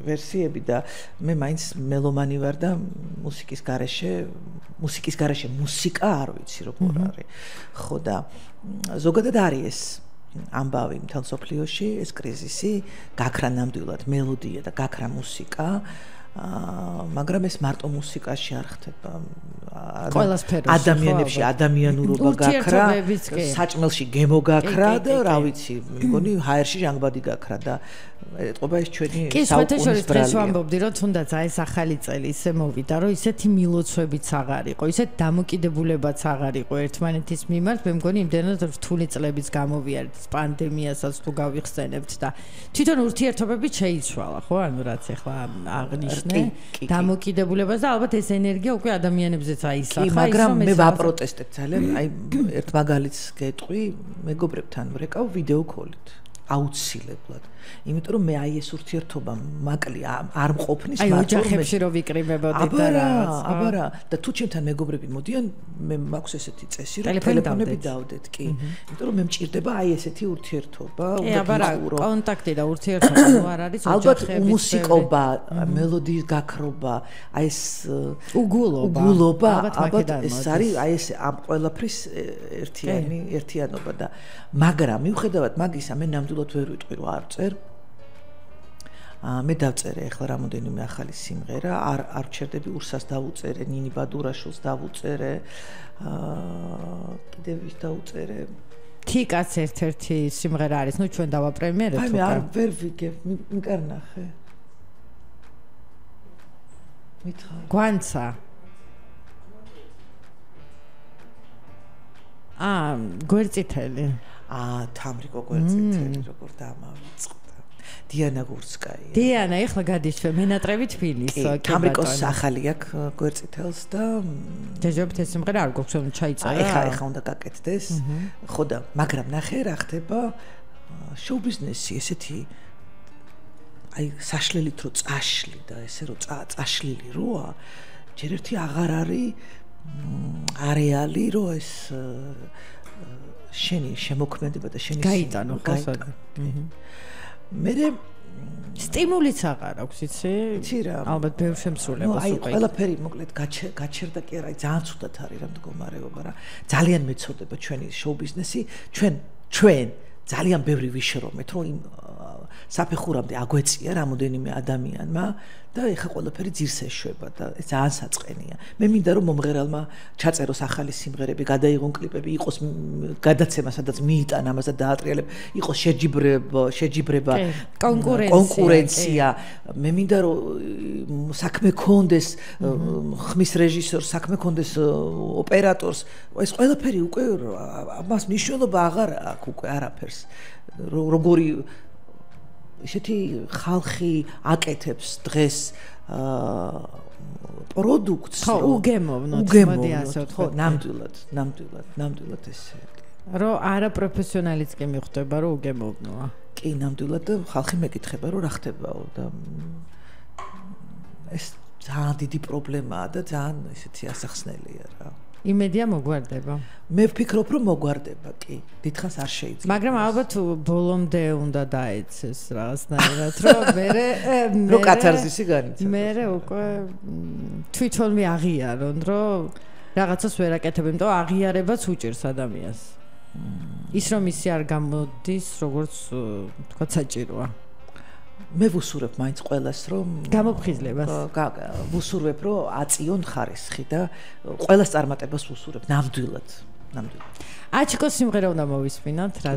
ვერსიები და მე მაინც მელომანი ვარ და მუსიკის გარეშე მუსიკა არ ვიცი როგორ არის. ხო და ზოგადად არის ეს ამბავი მთელ სოფლიოში, ეს კრიზისი, გაქრა ნამდვილად მელოდია და გაქრა მუსიკა. მაგრამ ეს მარტო მუსიკაში არ ხდება. ადამიანებში ადამიანურობა გაქრა, საჭმელში გემო გაქრა და რა ვიცი, მგონი ჰაერში ჟანგბადი გაქრა და ეტყობა ეს ჩვენი საუკუნის ბრალია. დღეს ვამბობდი, რომ თუნდაც ეს ახალი წელი ისე მოვიდა, რომ ისეთი მილოცვებიც აღარ იყო, ისეთ დამოკიდებულებაც აღარ იყო ერთმანეთის მიმართ, მე მგონი იმდენად რთული წლებიც გამოვიარეთ პანდემიასაც თუ გავიხსენებთ და თვითონ ურთიერთობები შეიცვალა, ხო? ანუ რაც ახლა აღნიშნე, დამოკიდებულებას და ალბათ ეს ენერგია უკვე ადამიანებზეც აისახა, მაგრამ მე ვაპროტესტებ ძალიან, აი ერთ მაგალითს გეტყვი, მეგობრებთან ვრეკავ ვიდეო კოლით. აუცილებლად. იმიტომ რომ მე აი ეს ურთიერთობა მაკლი არ მყოფნის მარტო ოჯახებში რო ვიკრიბებოდით და რაღაც. აბარა და თუ ჩემთან მეგობრები მოდიან, მე მაქვს ესეთი წესი, რომ ტელეფონები დავდეთ, კი. იმიტომ რომ მე მჭირდება აი ესეთი ურთიერთობა, აბარა, კონტაქტი და ურთიერთობა ნუ არ არის ოჯახებში. ალბათ მუსიკობა, მელოდიის გაქრობა, აი ეს უგულობა, ალბათ ეს არის აი ეს ამ ყველაფრის ერთიანობა და მაგრამ მიუხედავად მაგისა მე ნამდვილად ვერ ვიტყვი რომ არ წერ მე დავწერე ახლა რამოდენიმე ახალი სიმღერა არ ვჩერდები ურსას დავუწერე ნინი ბადურაშვილს დავუწერე კიდევ ვის დავუწერე თიკაც ერთ-ერთი სიმღერა არის ნუ ჩვენ დავაპრემიერებთ აი მე არ ვერ ვიგებ მიკარნახე მითხარ გვანცა გვერწითელი თამრიკო გვერწითელი როგორ დამავიწყდა დიანა გურსკაია დიანა ეხლა გადის ჩვენ მენატრები თბილის თამრიკოს ახალი აქვს გვერწითელს და ჯეჯობთ ეს სიმღერა არ გვაქვს რომ ჩაიწერა ეხლა უნდა გაკეთდეს ხო და მაგრამ ნახე რა ხდება შოუ ბიზნესი ესეთი აი საშლელით რო წაშლი და ესე რო წაშლილი როა ჯერ ერთი აღარ არის არეალი რო ეს შენი შემოქმედება და შენი გაიტანო ხოსა მე სტიმულიც აღარ აქვს იცი ალბათ ბევრ შემსრულებას აი ყველაფერი მოკლედ გაჩერდა კი არა ძალიან ცუდად არის რა მდგომარეობა რა ძალიან მეცოდება ჩვენი შოუ ბიზნესი ჩვენ ძალიან ბევრი ვიშრომეთ რომ იმ საფეხურამდე აგვეწია რამოდენიმე ადამიანმა და ეხა ყველაფერი ძირს ეშვება და ეს ძალიან საწყენია. მე მინდა რომ მომღერალმა ჩაწეროს ახალი სიმღერები, გადაიღონ კლიპები, იყოს გადაცემა, სადაც მიიტან ამას და დაატრიალებ, იყოს შეჯიბრება, კონკურენცია. მე მინდა რომ საქმე კონდეს ხმის რეჟისორს, საქმე კონდეს ოპერატორს. ეს ყველაფერი უკვე ამას მნიშვნელობა აღარ აქვს უკვე არაფერს. როგორი ისეთი ხალხი აკეთებს დღეს პროდუქტს უგემოვნოთ მოდი ასე ვთქვა ნამდვილად ესე რომ არა პროფესიონალიც კი მიხვდება რომ უგემოვნოა კი ნამდვილად და ხალხი მეკითხება რომ რა ხდებაო და ეს ძალიან დიდი პრობლემაა და ძალიან ესეთი ასახსნელია რა იმედია მოგვარდება. მე ვფიქრობ რომ მოგვარდება კი. დიდხანს არ შეიძლება. მაგრამ ალბათ ბოლომდე უნდა დაეცეს რაღაცნაირად რომ რო კათარზისი განიცადოს. მე უკვე თვითონვე აღიარონ რომ რაღაცას ვერ აკეთებ, იმიტომ აღიარებაც უჭირს ადამიანს. ის რომ ისი არ გამოდის, როგორც თქვა საჭიროა. მე ვუსურებ მაინც ყველას რომ გამოფხიზლებას ვუსურებ რომ აწიონ ხარისხი და ყველას წარმატებას ვუსურებ ნამდვილად აჩიკოს სიმღერა უნდა მოვისმინოთ